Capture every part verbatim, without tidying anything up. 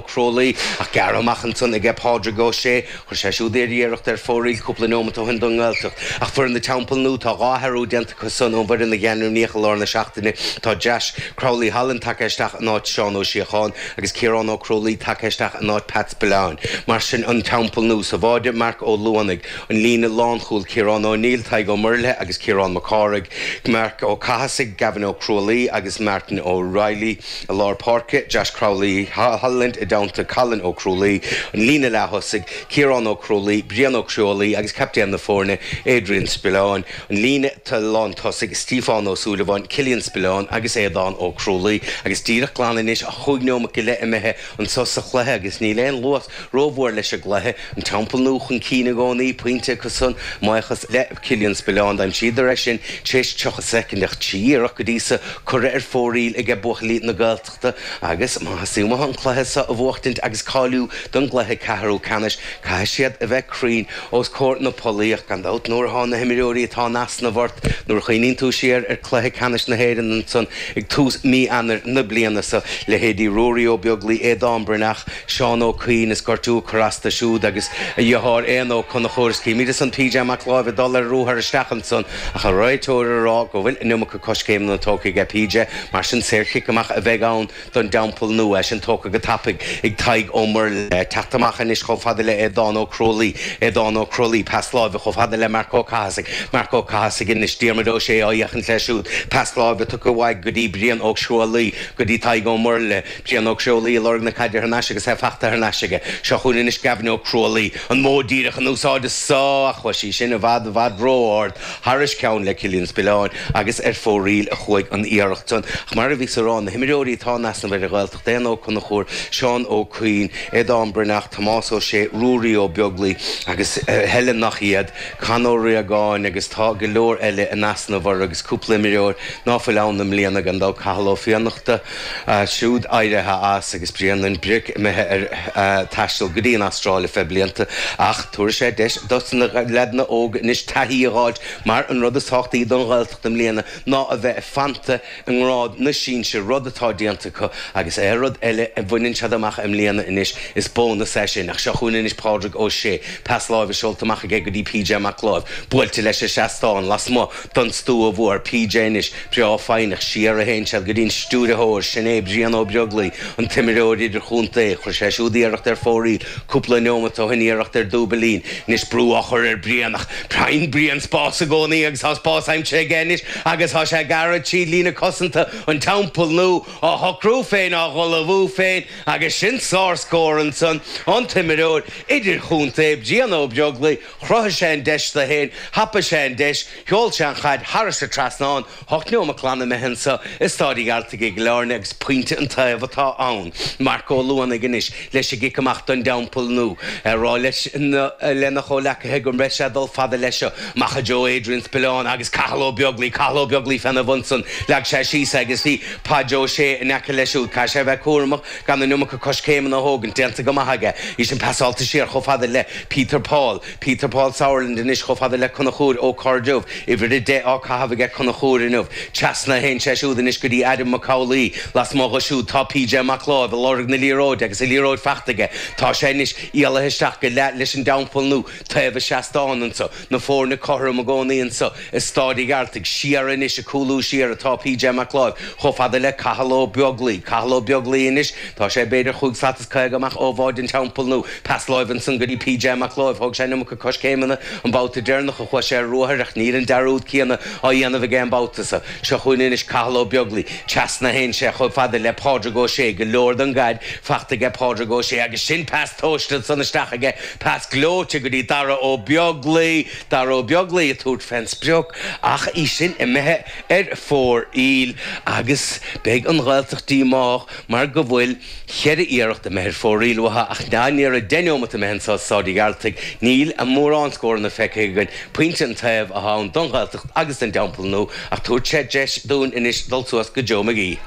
Crualaoi ach gearrtha amach ansan aige Pádraig Ó Sé, chuir sé siúd iarracht ar fóraoil cúpla nóimeat ó shin don nGaeltacht. Ach foireann na Teampall Nua, tá dhá athrú déanta acu san ón bhfoireann a ainmníodh i lár na seachtaine. Tá Josh Crowley Holland tagtha isteach in áit Seán Ó Síocháin agus Ciarán Ó Crualaoi tagtha isteach in áit Pat Spillane. Mar sin an Teampall Nua sa bháide Marc Ó Luanaigh, an líne lánchúil Ciarán Ó Néill, Tadhg Ó Muirleith agus Ciarán Mac Cárthaigh, Marc Ó Cathasaigh, Gavin Ó Crualaoi agus Martin O'Reilly i lár páirce, Josh Crowley Holland i dteannta Colin Ó Crualaoi, an líne leath-thosaigh, Ciarán Ó Crualaoi, Brian Ó Crualaoi agus captaen na foirne, Adrian Spillane, an líne lántosaigh, Stiofán Ó Súilleabháin, Cillian Spillane agus Aodán Ó Crualaoi. Agus díreach glan anois chúig neomat go leith imithe anso sa chluiche agus níl aon luas rómhór leis an gcluiche, an Teampall Nua chun cinn i gcónaí, pointe acusan, buíochas le Cillian Spillane, d'aimsíodar é sin tar éis tríocha soicind ach trí iarracht go dtí so curtha ar fóraoil aige buachaillí na Gaeltachta agus má theastaíonn uathu an cluiche so a bhuachtaint agus cáiliú don gcluiche ceathrú ceannais, caithfidh siad a bheith cruinn os comhair na pollaí ach gan dabht nuair atá na himreoirí atá in easnamh ort, nuair a chuimhníonn tú siar ar chluiche ceannais na hÉireann ansan ag tús mí Eanáir na bliana so, leithéidí Ruairí Ó Beaglaoi, Aodán Breathnach, Seán Ó Cuinn is gortú ag cur as do siúd agus a dheartháir Éanna Ó Conchúir is címid ansan P J Mac Láimh ag dul ar ruathar isteach ansan ach an réiteoir ag rá go bhfuil an iomarca coiscéimeanna tógtha aige P J, mar sin saorchic amach a bheidh ann don dTeampall Nua, é sin tógtha go tapaidh ag Tadhg Ó Muirleith. Teacht amach anois chomh fada le Aodán Ó Crualaoi, Aodán Ó Crualaoi, pas láimhe chomh fada le Marc Ó Cathasaigh, Marc Ó Cathasaigh anois, Diarmuid Ó Sé á fhéachaint leis siúd, pas láimhe tugtha uaidh go dtí Brian Ó Crualaoi, go dtí Tadhg Ó Muirleith, Brian Ó Crualaoi ag lorg na caide thar n-ais agus é fachta thar n-ais aige. Seo chugainn anois Gavin Ó Crualaoi, an modh díreach in úsáid anso ach chuaigh sí sin i bhfad i bhfad ró-ard thairis ceann le Cillian Spillane agus ar fóraoil a chuaigh an iarracht san. Ach mar a bhíos ag rá, na himreoirí atá in easnamh ar an Ghaeltacht, Éanna Ó Conchúir, Seán Ó Cuinn, Aodán Breathnach, Tomás Ó Sé, Ruairí Ó Beaglaoi agus a thuilleadh nach iad, Con Ó Riagáin agus tá go leor eile in easnamh orthu agus cúpla imreoir ná fuil ann i mbliana gan dabht Cathal Ó Fiannachta siúd éirithe as agus Bréanainn Bric imithe ar taisteal go dtí an Astráil feadh blianta ach tabharfaidh sé deis dos na leaideanna óga anois taithí a dh'fháilt mar an rud is tábhachtaí don Ghaeltacht i mbliana ná a bheith fanta i ngrád na sinsear, rud atá déanta acu agus aon rud eile a bhaineann siad amach i mbliana anois is bónas é sin. Ach seo chugainn anois Pádraig Ó Sé, pas láimhe seolta amach aige go dtí P J Mac Láimh, buailte leis an seastán lasmuigh don stua mhór. P J anois breá foighneach, siar a théann siad go dtí an stiúrthóir, sin é Brian Ó Beaglaoi, an t-imreoir idirchontae. Chuir sé siúd iarracht ar fóraoil cúpla neomat ó shin, iarracht ar dúbailín. Anois brú á chur ar Brian ach faigheann Brian spás i gcónaí agus tá spás aimsithe aige anois agus tá sé ag gearradh tríd líne cosanta an Teampaill Nua, á shocrú féin, á dhul amú féin agus sin sárscór ansan an t-imreoir idirchontae Brian Ó Beaglaoi. Chruthaigh sé an deis do féin, thapaigh sé an deis, sheol sé an chaid thairis an trasnán. Ocht neomat glan imithe anso i Stáid an Ghearaltaigh i gCill Airne agus pointe an taobh atá ann. Marc Ó Luanaigh anois leis an gcic amach don dTeampall Nua. Ag rá leis lena chomhleacaithe go mbeidh sé ag dul fada leis seo. Amach i dtreo Adrian Spillane agus Cathal Ó Beaglaoi, Cathal Ó Beaglaoi féna bhun san. Leag sé síos é agus bhí Paid Ó Sé in aice leis siúd. Caithfidh sé a bheith cúramach gan an iomarca coiscéimeanna a thógaint. Déanta go maith aige. Í sin pasáilte siar chomh fada le Peter Paul. Peter Paul Sauerland anois chomh fada le Conchúr Ó Cairdiubh. Uimhir a deich á caitheamh aige Conchúr inniu. Trasna a théann sé siúd anois go dtí Adam Mac Amhlaigh. Lasmuigh dho siúd tá P J Mac Láimh ag lorg na liathróide agus an liathróid fachta aige. Tá sé anois éalaithe isteach go leath leis an dTeampall Nua taobh an seastáin anso. Na foirne cothrom i gcónaí anso i Stáid an Ghearaltaigh. Siar anois ag cúlú siar atá P J Mac Láimh chomh fada le Cathal Ó Beaglaoi. Cathal Ó Beaglaoi anois, tá sé b'fhéidir chúig slat is caoga amach ó bháide an Teampaill Nua. Pas láimhe ansan go dtí P J Mac Láimh. Thóg sé an iomarca coiscéimeanna an babhta deireanach a chuaigh sé ar ruathar ach níl an dearúd céanna á dhéanamh aige an babhta seo. Seo chugainn anois Cathal Ó Beaglaoi. Trasna a théann sé chomh fada le Pádraig Ó Sé. Go leor den gcaid fachta aige Pádraig Ó Sé agus sin pas tomhaiste ansan isteach aige, pas gleoite go dtí Dara Ó Beaglaoi. Dara Ó Beaglaoi ag tabhairt fén sprioc ach í sin imithe ar fóraoil agus beidh an Ghaeltacht díomách mar go bhfuil cheithre iarracht imithe ar fóraoil uathu ach ní raibh deich neomat imithe anso i Stáid an Ghearaltaigh. Níl a mórán scóranna feicthe againn. Pointe an taobh atá ann don Ghaeltacht agus don Teampall Nua ach tabharfaidh sé deis dúinn anois dul suas go Joe McGee.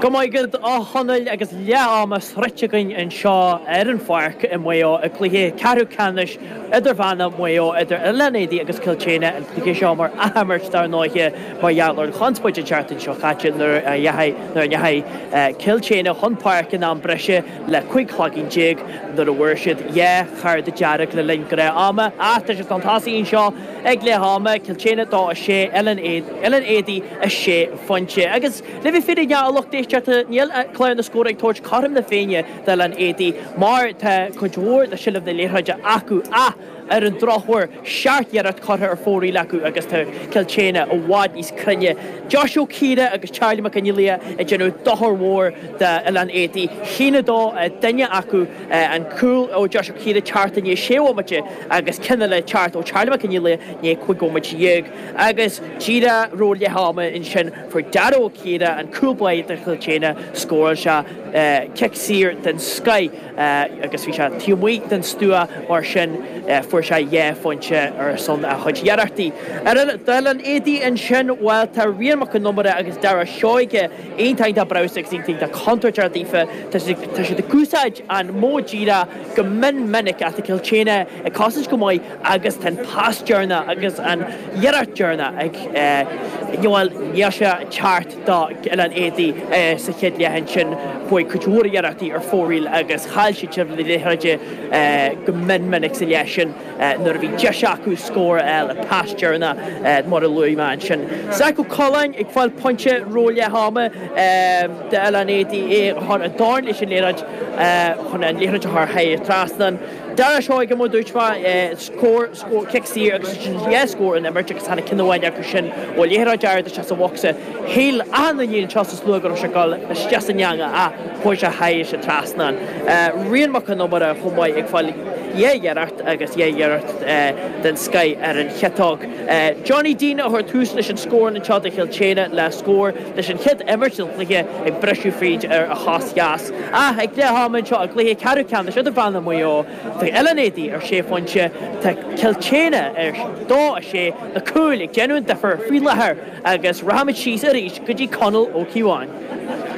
Go maith agat a Chonaill agus leath ama sroichte againn anseo ar an pháirc i Maigh Eo i gcluiche ceathrú ceannais idirmheánach Mhaigh Eo idir Oileán Éadaí agus Cill tSéadhna an cluiche seo mar athimirt dar ndóigh mar gheall ar an chonspóid an tseachtain seo caite nuair a nuair a ndeachaigh Cill tSéadhna chun páirce in am breise le cúig cloigín déag nuair a bhfuair siad dhá chárta dearg le linn gnáth ama ach tá siad chun tosaigh anseo ag leath ama Cill tSéadhna dó a sé Oileán Éadaí a sé phointe agus le bheith fírinneach a lucht éisteachta níl clár na scór ag tabhairt cothrom na Féinne d'Oileán Éadaí mar tá cuid mhór de sheilbh na liathróide acu ach ar an drochuair seacht n-iarracht curtha ar fóraoil acu agus tá Cill tSéadhna i bhfad níos cruinne. Josh Ó Ciara agus Charlie Mac Fhionnghaile ag déanamh dochar mhór d'Oileán Éadaí. Haon a dó duine acu an cúl ó Josh Ó Ciara teacht i ndiaidh sé bhomaite agus ceann eile teacht ó Charlie Mac Fhionnghaile i ndiaidh cúig bhomaite dhéag. Agus díreach roimh leath ama ansin fuair Dara Ó Ciara an cúl báire do Chill tSéadhna scóráil sé cic saor den scoth agus bhí sé taobh amuigh den stua mar sin fuair sé dhá phointe ar son a chuid iarrachtaí. Ar d'Oileán Éadaí ansin bhuel tá Rian Mac an Iomaire agus Dara Seoige iontach breabhsánach agus iontach contúirteach daofa tá siad ag úsáid an modh díreach go mion minic ach tá Cill tSéadhna ag cosaint go maith agus tá an pas deireanach agus an iarracht deireanach ag bhuel níl sé teacht do Oileán Éadaí sa chéad leath ansin chuaigh cuid mhór iarrachtaí ar fóraoil agus chaill siad seilbh na liathróide go mion minic sa leath sin nuair a bhí deis acu scór a fháil an pas deireanach mar a luaigh mé ansin. Zach Ó Coileáin ag fáil pointe roimh leath ama d'Oileán Éadaí é a chur i dtorn leis an liathróid chun an liathróid a chur thar trasnán. Dara Seoige mar dúirt mé scór scór cic saor agus sin dhá scór an imirt agus tháinig ceann amháin acu sin ó liathróid ard isteach sa bhocsa. Shíl achan duine anseo sa slua go raibh sé ag dul isteach san eangach ach chuaigh sé thar an trasnán. Rian Mac an Iomaire chomh maith ag fáil dhá iarracht agus dhá iarracht den scoth ar an chiotóg. Johnny Dean a chuir tús leis an scór anseo do Chill tSéadhna le scór leis an chéad imirt den chluiche ag briseadh fríd ar a chos dheas. Ach ag leath ama anseo i gcluiche ceathrú ceannais idirmheánach Mhaigh Eo Tá Oileán Éadaí ar sé phointe tá Cill tSéadhna ar dó a sé na cúil ag déanamh an difear faoi láthair agus rachaimid síos arís go dtí Conall Ó Cíobháin.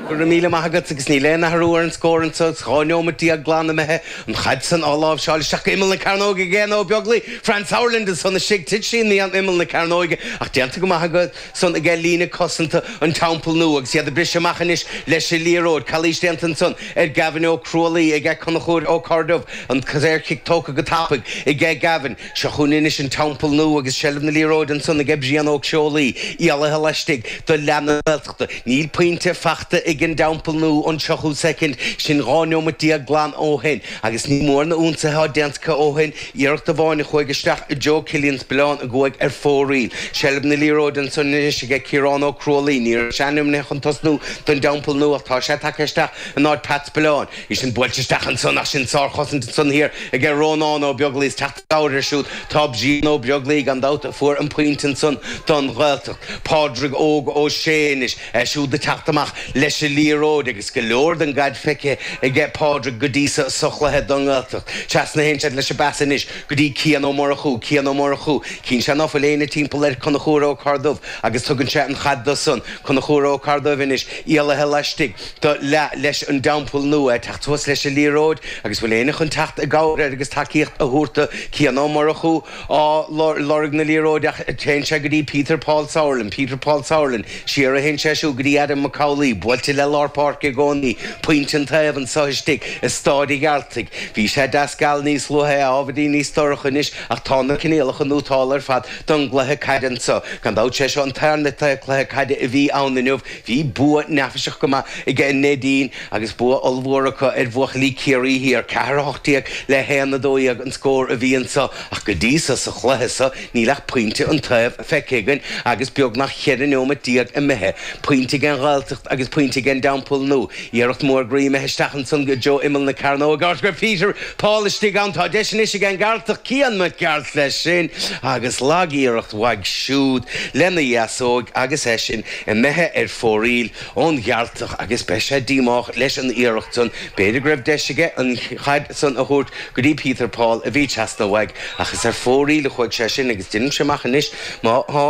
Go raibh míle maith agat agus níl aon athrú ar an scór anseo dhá neomat déag glan imithe an chaid san á láimhseáil isteach go imeall na cearnóige ag Éanna Ó Beaglaoi Fran Sauerland ansan istigh thit sí in imeall na cearnóige ach déanta go maith agat san aige líne cosanta an Teampall Nua agus iad ag briseadh amach anois leis an liathróid calaois déanta ansan ar Gavin Ó Crualaoi aige Conchúr Ó Corduff an saorchic tógtha go tapaidh aige Gavin seo chugainn anois an Teampall Nua agus seilbh na liathróide ansan aige Brian Ó Ceolaí éalaithe laistigh do leath na Gaeltachta níl pointe faighte ag an dTeampall Nua an tríocha soicind sin dhá neomat déag glan ó shin agus ní mór na ionsaithe déanta ó shin iarracht amháin a chuaigh isteach i Joe Killian Spillane a chuaigh ar fóraoil. Seilbh na liathróide ansan anois aige Ciarán Ó Crualaoi ní raibh sé ainmnithe chun tosnú don Dteampall Nua ach tá sé tagtha isteach in áit Pat Spillane. Í sin buailte isteach ansan ach sin sárchosaint ansan thiar aige Rónán Ó Beaglaoi is teacht ar siúd tá Brian Ó Beaglaoi gan dabht a fuair an pointe ansan don Ghaeltacht. Pádraig Óg Ó Sé anois siúd ag teacht amach leis an liathróid agus go leor den gcaid feicthe aige Pádraig go dtí sa sa chluiche don Ghaeltacht. Trasna théann siad leis an bpas anois go dtí Cian Ó Murchú, Cian Ó Murchú, Cíonn sé ná fuil éinne timpeall ar Conchúr Ó Corduff agus tugann sé an chaid dó san Conchúr Ó Corduff anois éalaithe laistigh do leath leis an dTeampall Nua teacht suas leis an liathróid agus bhfuil éinne chun teacht i gcabhair agus tacaíocht a thabhairt do Cian Ó Murchú á lorg na liathróide ach téann sé go dtí Peter Paul Sauerland, Peter Paul Sauerland, siar a théann sé siúd go dtí Adam Mac Amhlaigh, buailte le lár páirce i gcónaí, pointe an taobh anseo istigh i Staid an Ghearaltaigh. Bhí sé deas geal níos luaithe ábhairín níos dorcha anois ach tá na coinníollacha nótálta ar fad don gcluiche caide anseo. Gan dabht sé seo an tarna cluiche caide a bhí ann inniu, bhí bua neafaiseach go maith aige an Neidín agus bua ollmhór acu ar bhuachaillí Ciarraí Thiar, ceathair a hocht déag le haon a dó dhéag an scór a bhí anseo ach go dtí seo sa chluiche seo níl ach pointe an taobh feicthe againn agus beagnach ceithre neomat déag imithe. Pointe ag an Ghaeltacht agus pointe ag an dTeampall Nua. Iarracht mór groí imithe isteach ansan go dtí imeall na cearnóige áit go raibh Peter Paul istigh ann tá deis anois ag an nGearaltach Cian Mac Gearailt leis sin agus lagiarracht uaidh siúd lena dheasóg agus é sin imithe ar fóraoil ón Ghearaltach agus beidh sé díomách leis an iarracht san b'fhéidir go raibh deis aige an chaid san a thabhairt go dtí Peter Paul a bhí trasna uaidh ach is ar fóraoil a chuaigh sé sin agus déanaimse amach anois má tá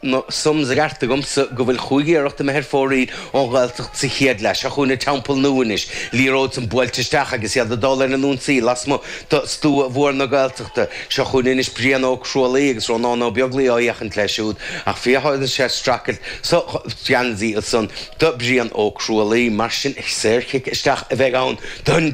na sums i gceart agamsa go bhfuil chúig iarracht imithe ar fóraoil ón Ghaeltacht sa chéad leath. Seo chugainn an Teampall Nua anois, liathróid san buailte isteach agus iad ag dul ar an ionsaí lasmuigh de stua mhór na Gaeltachta. Seo chugainn anois Brian Ó Crualaoi agus Rónán Ó Beaglaoi á fhéachaint leis siúd ach féachann sé streachailt sa gheansaí ansan do Brian Ó Crualaoi. Mar sin saorchic isteach a bheidh ann don.